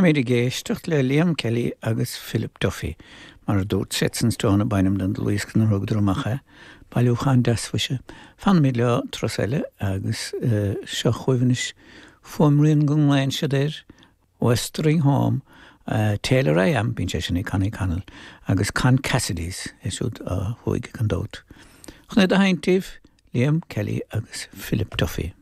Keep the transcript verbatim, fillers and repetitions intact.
Táimid ag éisteacht le Liam Kelly agus Philip Duffy, mar a dúirt Sets in Stone ab ainm don dlúthdhiosca inar thugadar amach é, bailiúchán deas mhuise. Fanfaimid leo turas eile agus uh, seo chugaibh anois fuaimrian go nglaonn siad air, Wuthering Home, uh, Tailor I Am, bíonn sé sin ag Connie Connell, agus Con Cassidy's é siúd uh, thuaidh gan dabht. Chun é a sheinnt daoibh, Liam Kelly agus Philip Duffy.